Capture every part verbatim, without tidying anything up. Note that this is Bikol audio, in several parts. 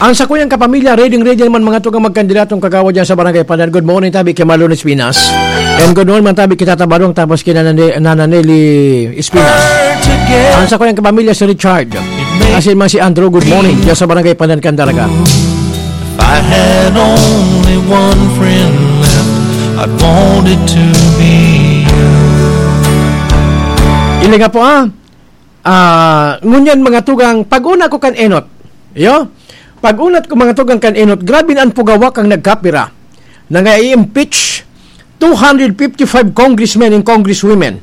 Ang sakuyang kapamilya, ready-ready naman mga tugang magkandidatong kagawad dyan sa Barangay Pandan. Good morning, tabi kay Marlon Espinas. And good morning, man tabi kay Tata Barong, tapos kay Nana Ne-, Nana Nelly Espinas. Ang sakuyang kapamilya, si Richard. Asin man si Andrew, good morning. Dyan sa Barangay Pandan, Candaraga. If I had only one friend left, I'd want it to be you. Ili nga po, ah. Ah, ngunyan, mga tugang, pag-una ko kan enot. Iyo? Pag-una ko, mga tugang, kan enot, grabe na ang pugawa kang nagkapira na nga i-impeach two hundred fifty-five congressmen and congresswomen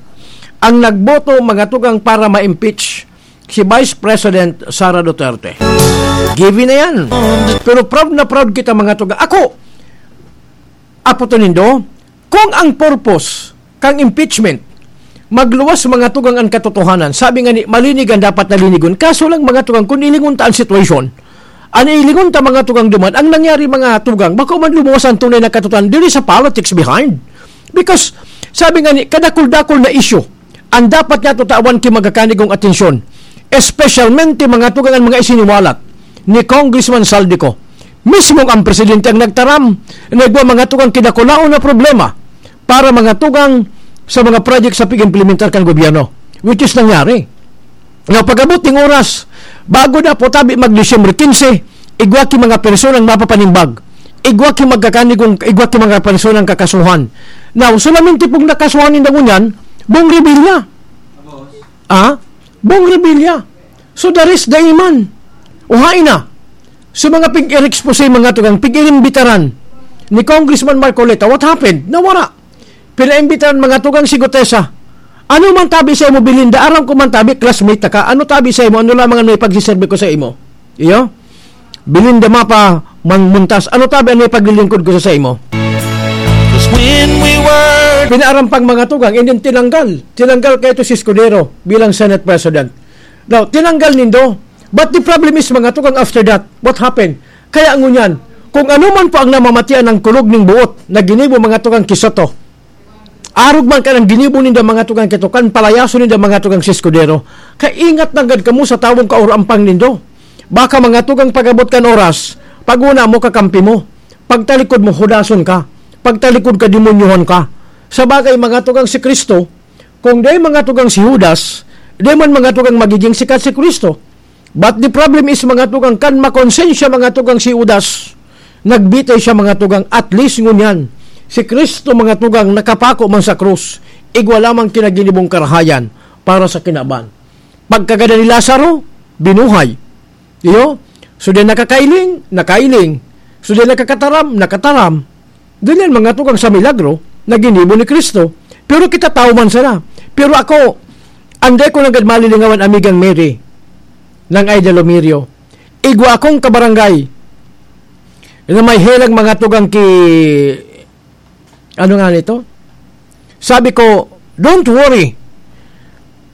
ang nagboto, mga tugang, para ma-impeach si Vice President Sara Duterte. Given na yan. Pero proud na proud kita, mga tugang. Ako, apo to nindo, kung ang purpose kang impeachment, magluwas, mga tugang, an katotohanan. Sabi nga ni, malinig an dapat na linigon. Kaso lang, mga tugang, kung ilingon ta an sitwasyon, an ilingon ta, mga tugang, duman, ang nangyari, mga tugang, bako man lumuwas ang tunay na katotohanan. There is a politics behind. Because, sabi nga ni, kadakul-dakul na issue, ang dapat nga tutawan ki magakanigong atensyon, espesyalmente, mga tugang, ang mga isiniwalat ni Congressman Zaldy Co. Mismo ang presidente ang nagtaram na igwa, mga tugang, kidakulaon na problema para, mga tugang, sa mga project sa pag-implementar kan gobyerno, which is nangyari. Now, pag-abot ning oras, bago na po tabi mag Disyembre quince, igwa ki mga personang mapapanimbag, igwa ki magkakanigong, igwa ki mga personang kakasuhan. Now, solamente pong nakasuhan ninda ngunyan, Bong Revilla. Ah? Bong Revilla. So, the rest, daiman. Uhain na. So, mga pig-expose, mga tugang, pig-inimbitaran ni Congressman Marcoleta, what happened? Nawara. Pinaimbitaran, mga tugang, si Gutesa. Ano man tabi sa imo, Belinda? Aram ko man tabi, classmate ta ka. Ano tabi sa imo? Ano lamang ang naipagsiserbi ko sa imo? Iyo? Belinda Mapa Mang Muntas. Ano tabi ang naipaglilingkod ko sa, sa imo? 'Cause when we were Pinaarampang, mga tugang, and then tinanggal. Tinanggal kaito si Escudero bilang Senate President. Now, tinanggal nindo. But the problem is, mga tugang, after that, what happened? Kaya ngunyan, kung ano man po ang namamatian ng kulog ning buot na ginibo, mga tugang, ki Soto, arog man kan ang ginibo ninda, mga tugang, ki Soto, kan palayason ninda, mga tugang, si Escudero. Kaingat nanggad kamo sa tawong kaurampang nindo. Baka, mga tugang, pag-abot kan oras, pag-una mo, kakampi mo. Pagtalikod mo, hudason ka. Pagtalikod ka, demonyohan ka. Sa bagay, mga tugang, si Cristo, kung di, mga tugang, si Judas, di man, mga tugang, magiging sikat si Cristo. But the problem is, mga tugang, kan makonsensya, mga tugang, si Judas, nagbitay siya, mga tugang, at least ngunyan, si Cristo, mga tugang, nakapako man sa krus, igwa lamang ki naginibong karahayan para sa kinaban. Pagkagadan ni Lazaro, binuhay. Iyo, so din nakakailing, nakailing. So din nakakataram, nakataram. Dili yan, mga tugang, sa milagro na ginibo ni Cristo. Pero kita tawo man sana. Pero ako, anday ko nanggad malilingawan, Amigang Mary, nang Aida Lomerio. Igwa akong kabarangay na may helang, mga tugang, ki, ano nga nito? Sabi ko, "Don't worry.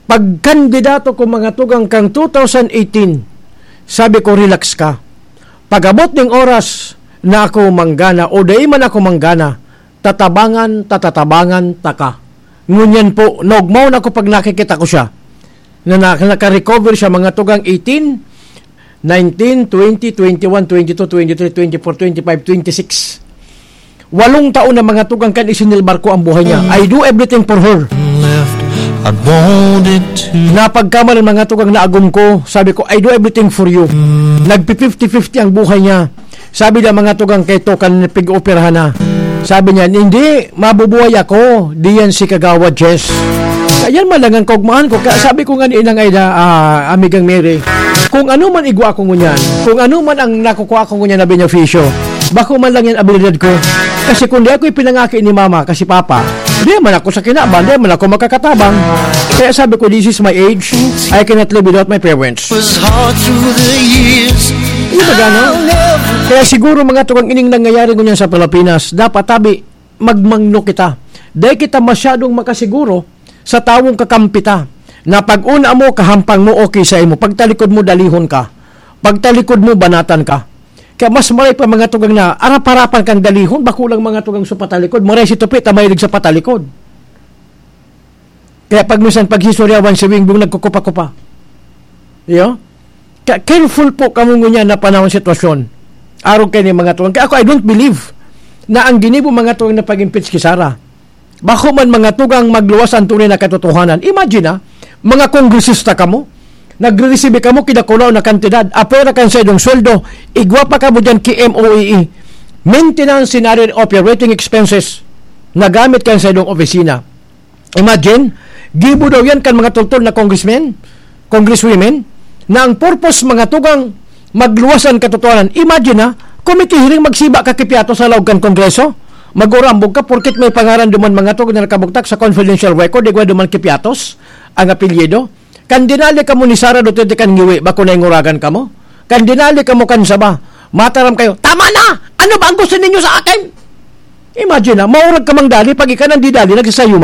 Pag kandidato ko, mga tugang, kang two thousand eighteen, sabi ko, relax ka. Pag-abot ning oras na ako manggana o dai man ako manggana, tatabangan, tatatabangan taka." Ngunyan po, naogmaw na ako pag nakikita ko siya. Na, na, naka-recover siya, mga tugang, eighteen, nineteen, twenty, twenty-one, twenty-two, twenty-three, twenty-four, twenty-five, twenty-six. Walong taon na, mga tugang, kan isinilbar ko ang buhay niya. I do everything for her. Left, I wanted to. Napagkamalan, mga tugang, na agom ko. Sabi ko, "I do everything for you." Nagpi fifty fifty ang buhay niya. Sabi niya, mga tugang, kaito kan pig-operahan na. Sabi niya, "Hindi, mabubuhay ako. Diyan si Kagawad Jess." Ayan man lang ang kaugmahan ko. Kaya sabi ko nga ni Inang Aida, ah, Amigang Mary, kung ano man igwa ko ngunyan, kung ano man ang nakukuha ko ngunyan na benepisyo, bako man lang yan abilidad ko. Kasi kung di ako ipinangaki ni Mama, kasi Papa, di man ako sa kinaban, di man ako makakatabang. Kaya sabi ko, "This is my age. I cannot live without my parents." Was hard through the years. Di ba gano'n? Kaya siguro, mga tugang, ining nangyayari ngunyan sa Pilipinas, dapat tabi, magmangno kita. Dai kita masyadong makasiguro sa tawong kakampi ta, na pag-una mo, kahampang mo, okay sa imo. Pagtalikod mo, dalihon ka. Pagtalikod mo, banatan ka. Kaya mas maray pa, mga tugang, na arap-arapan kang dalihon, bako lang, mga tugang, sa patalikod. Maray si Tupi ta mahilig sa patalikod. Kaya pag minsan paghisuryawan si Wingbong nagkukupa-kupa. Iyo? Kaya careful po kamo ngunyan na panahon, sitwasyon. Arog kay ni mga tugang. Kaya ako, I don't believe na ang ginibo mga tugang na pag-impeach ki Sara. Bako man mga tugang magluwas ang tunay na katotohanan. Imagine ha, mga kongresista kamo, nagre-receive kamo kidakulaw na kantidad, apwera kan saindong sweldo, igwa pa kamo dyan ki M O E E. Maintenance and other operating expenses, nagamit kan saindong opisina. Imagine, gibo daw yan kan mga tultol na congressmen, congresswomen, na ang purpose mga tugang magluwas ang katotohanan. Imagine ha, committee hearing magsiba ka ki Piatos sa laog kan Kongreso. Magurambog ka porket may pangaran duman mga tugang na nakabugtak sa confidential record, igwa duman ki Piatos ang apelyido. Kan dinali kamo ni Sara Duterte kan ngiwi, bako na inguragan kamo? Kan dinali kamo kan saba, mataram kayo, "Tama na! Ano ba ang gusto ninyo sa akin?" Imagine na, maurag ka mang dali, pag ika nang didali, nagsasayo